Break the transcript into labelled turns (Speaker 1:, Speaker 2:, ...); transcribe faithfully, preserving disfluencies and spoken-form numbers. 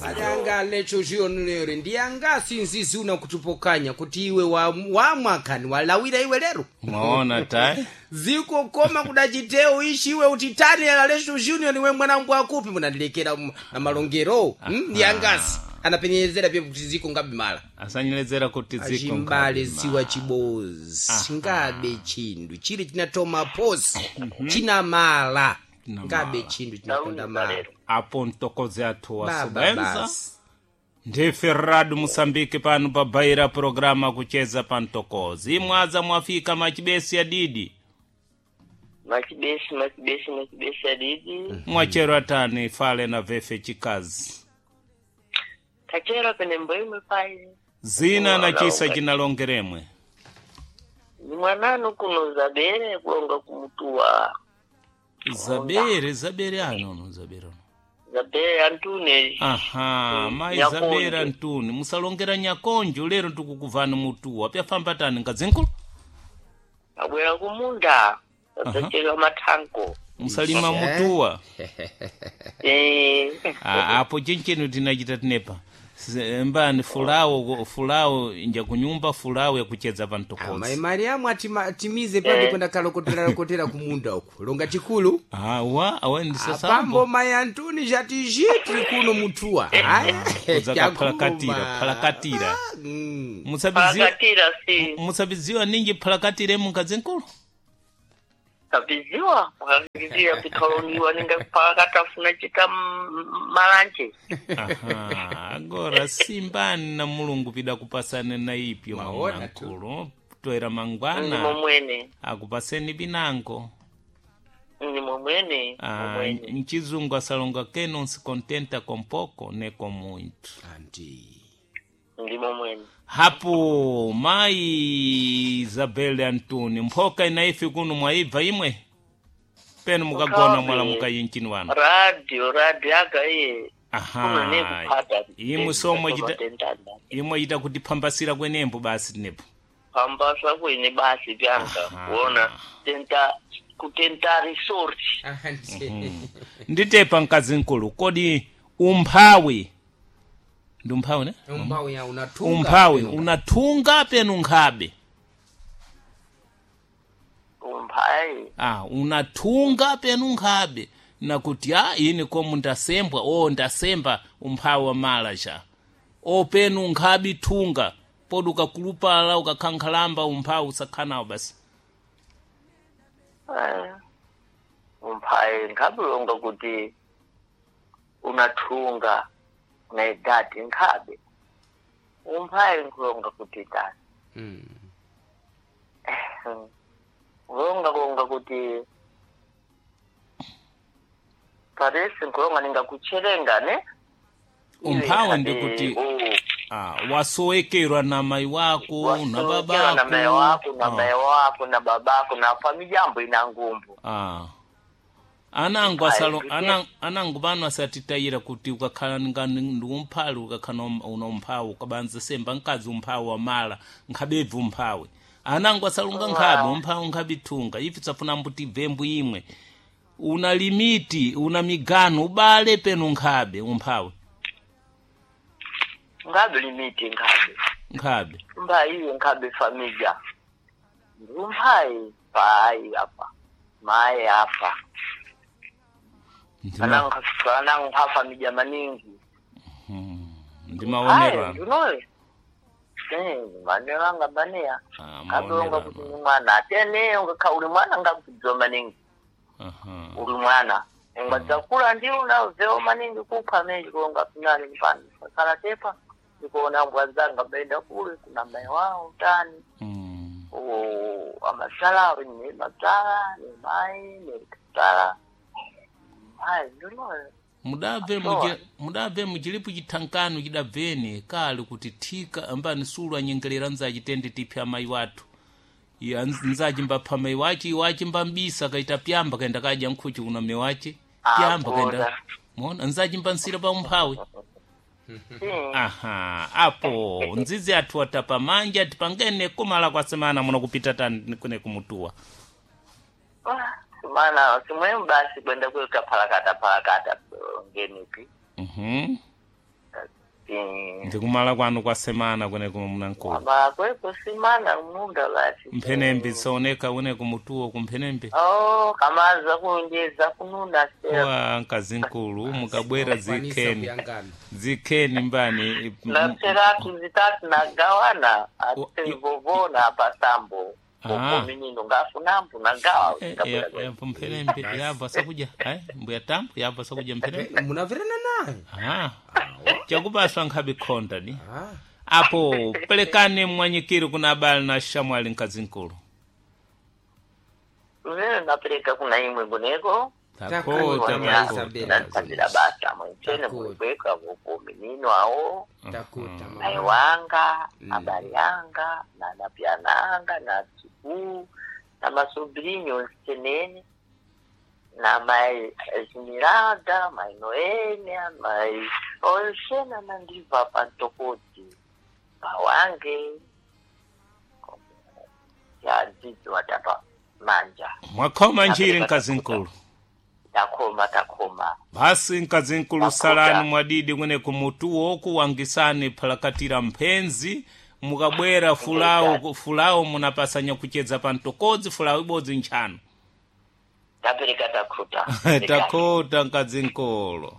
Speaker 1: Alanga lecho jionlere ndiyanga sinzizuna kutupokanya kuti iwe wa- wamwakani walawira iwe lero
Speaker 2: mwaona tayi
Speaker 1: ziko koma kudachiteo ishi iwe utitani alesho junior niwe mwanangu akupi munandilekera m- na malongero hmm? ndiyangasi anapenyezera pye kuti ziko ngabe mala
Speaker 2: asanyelezera kuti ziko
Speaker 1: achimbale
Speaker 2: ngabe
Speaker 1: ziwa chibozi ngabe chindu chili chinatoma posi china mala
Speaker 2: China
Speaker 1: ngabe
Speaker 2: mala.
Speaker 1: chindu chinakonda mala
Speaker 2: apo mtokozi athu
Speaker 1: baba
Speaker 2: wasubenza
Speaker 1: basi
Speaker 2: ndife radu musambiki pano pabaira programa kucheza pa mtokozi imwaza mwafika machibesi ya didi
Speaker 3: Machibesi, machibesi, machibesi adidi.
Speaker 2: mwachero atani fale na vefe chikazi
Speaker 3: Kachero pene mbwemwe pai.
Speaker 2: zina na chisa
Speaker 3: Wala,
Speaker 2: chinalongeremwe
Speaker 3: Ni mwananu kuno zabere kulonga kumutuwa.
Speaker 2: zabere zabere anono zabere ano
Speaker 3: Zabere antune.
Speaker 2: aha
Speaker 3: Mm,
Speaker 2: mayi
Speaker 3: Nyakonjo.
Speaker 2: zabera ntuni musalongera nyakonjo lero tikukuvani mutuwa pyafamba tani ngazinkulu
Speaker 3: Abwera kumunda. Zachera mathanko.
Speaker 2: musalima
Speaker 1: Eh.
Speaker 2: mutuwa
Speaker 3: Eh.
Speaker 2: Ah, apo chinchino tinachita tinepa Se- mbani fulawo fulawo nja kunyumba fulawo yakucheza pa
Speaker 1: Amai
Speaker 2: mtokozi
Speaker 1: Mariamu atima- atimize pati kwenda kalokotera lokotera kumunda uku longa chikulu
Speaker 2: awa awa
Speaker 1: apambo
Speaker 2: ndisasambo
Speaker 1: mai Antuni jatiji tiri kuno mutuwa aya
Speaker 2: Kudzaka phalakatira, phalakatira.
Speaker 1: Mm.
Speaker 2: musabiziwa
Speaker 3: Pakatira si.
Speaker 2: musabiziwa ninji phalakatire mungazinkulu
Speaker 3: Kabiziwa. Pakatira pikaloniwa ninga pakatafuna chita m- malanje.
Speaker 2: aha agora simbani na mulungu pida kupasane na ipyo
Speaker 1: Maona tu.
Speaker 2: mwankulu toera
Speaker 3: Ni
Speaker 2: mangwana
Speaker 3: momwene.
Speaker 2: akupaseni binango
Speaker 3: Ni momwene.
Speaker 2: Ah,
Speaker 3: Momwene.
Speaker 2: mchizungu asalonga que não se contenta com pouco nem com muito
Speaker 1: Anti.
Speaker 3: Ndi momwene.
Speaker 2: hapo mai Isabel Antoni mphoka inaifi kuno mwaibva imwe peno mukagona
Speaker 3: Mukhabe.
Speaker 2: mwala mukayinchini wanu
Speaker 3: Radio, radio aka iye. Kuno
Speaker 2: aha
Speaker 3: nekuphata.
Speaker 2: imwe somwe chita imwe chita kutiphambasira kwenembo basi tinepo
Speaker 3: Pambasa kwene basi pyanga.
Speaker 2: Aha.
Speaker 3: Kuona tenta kutenta resort.
Speaker 1: Anti.
Speaker 2: nditepa mkazi mkulu kodi umphawi ndi umphawi ne
Speaker 1: Umphawi ya unatunga
Speaker 2: umphawi unathunga penu nkhabe
Speaker 3: Umphayi.
Speaker 2: ah unathunga penu nkhabe nakuti a ini komu ndasembwa o ndasemba umphawi wa mala cha o penu nkhabe thunga podi ukakulupala ukakhankhalamba umphawi usakhanawo basi
Speaker 3: Eh. Umphayi nkhabulonga kuti unathunga na idadi nkhabe. Umphayi nkulonga kuti tani.
Speaker 1: Mm.
Speaker 3: Kulonga kulonga kuti paresi nkulonga ningakucherenga ne?
Speaker 2: umphawi ndikuti ah, wasowekerwa na mai wako na
Speaker 3: Wasowekerwa na mai wako na
Speaker 2: babako
Speaker 3: mai wako na babako na famijambo ina ngumbu.
Speaker 2: ah. anangu asalo
Speaker 3: Ayi,
Speaker 2: anangu, anangu pano asatitayira kuti ukakhala nga ndi umphali ukakhala um- una umphawi ukabanza semba mkazi umphawi wamala nkhabebvi umphawi anangu asalunga nkhabe umphawi nkhabe thunga ife tsafuna mbuti bvembu imwe una limiti una migano ubale penu nkhabe umphawi
Speaker 3: Nkhabe limiti nkhabe.
Speaker 2: nkhabe
Speaker 3: Umphayi iye nkhabe familia. Umphayi payi apa. Mai apa.
Speaker 2: Ndima-
Speaker 3: Anangu anangu ha familia maningi.
Speaker 2: ndimaonero
Speaker 3: Ayi,
Speaker 2: ano
Speaker 3: ndinoyo. Eh, manero anga baneya.
Speaker 2: Ah,
Speaker 3: Kabonga
Speaker 2: maonero
Speaker 3: kuti
Speaker 2: ano
Speaker 3: ni mwana. Atene ungakha uli mwana ngakudziwa maningi.
Speaker 2: aha
Speaker 3: Uli mwana. Ungadzakula ndi unaveo maningi kupha menji kulonga finali mpano. Sakala tepa. Ndikuona mbwa zanga baenda kule kuna mai wao tani.
Speaker 2: Mm.
Speaker 3: O amasala ni masala ni mai ni kasala. Ayi, ndinoyo.
Speaker 2: mudabve
Speaker 3: Atoa.
Speaker 2: muji- mudabve muchilipo chithankano chidabveni kali kuti thika ambani sulu anyengerera nzachi tende tiphe amayi wathu ya nzachi mbapha mayi wachi iwachi mbambisa kaita pyamba kaenda kadya nkhuchi kuna mme wachi pyamba kaenda
Speaker 3: Agora.
Speaker 2: mona nzachi mbansira pa umphawi
Speaker 3: Sim.
Speaker 2: aha apo nzizi athu atapa manja tipangene kumala kwa semana muno kupita tani kune kumutuwa
Speaker 3: Ah, Mana simwemu basi kwenda kuita phalakata phalakata ngenipi.
Speaker 2: mhm Ndikumala kwanu kwa semana kweneko mnankulu.
Speaker 3: Ama kweko simana munda basi.
Speaker 2: Mphenembe saoneka uneko mutuwo kumphenembe.
Speaker 3: Oh, kamaza kunjeza kununa sera.
Speaker 2: Wa nkazinkulu mukabwera
Speaker 1: Kwanisa
Speaker 2: zikheni.
Speaker 1: kuyangana.
Speaker 2: Zikheni mbani.
Speaker 3: Na seratu zitatu nagawana ate vovona pasambo.
Speaker 2: Ah.
Speaker 3: Koko minino ngafunambu nagawa.
Speaker 2: Eh, eh, eh, mphenembe yabva sakudya. Ai, mbuya tambo yabva sakudya mphenembe.
Speaker 1: Eh, munamverana naye.
Speaker 2: Ah. Chakupaswa nkhabe khonda ni.
Speaker 1: Ah.
Speaker 2: Apo pelekani mwanyikiri kuna abale na shamwali nkazinkulu.
Speaker 3: Vene napereka kuna imwe kuneko.
Speaker 2: Takota
Speaker 1: Takota.
Speaker 2: takota.
Speaker 3: Natsambira basa mwechene
Speaker 1: Takota.
Speaker 3: mulikweka voko minino awo.
Speaker 1: Takuta mama.
Speaker 3: Mai wanga, abali anga, na napyana anga, na tsuku, na masobrinho nsenene, na mai Esmeralda, mai Noêmia, mai Oxena nandiva pantokoti, pawange, ya dzidzo watapa manja.
Speaker 2: Mwakhoma njiri nkazinkulu.
Speaker 3: Takoma, takoma.
Speaker 2: Basi nkazinkulu
Speaker 3: Makuta.
Speaker 2: salani mwadidi kwene kumutuwo kuwangisani phalakatira mphenzi mukabwera fulawo fulawo munapasanya kuchedza pa mtokodzi fulawo ibodzi ntchano.
Speaker 3: Tapereka takhuta.
Speaker 2: Takota nkazinkulu.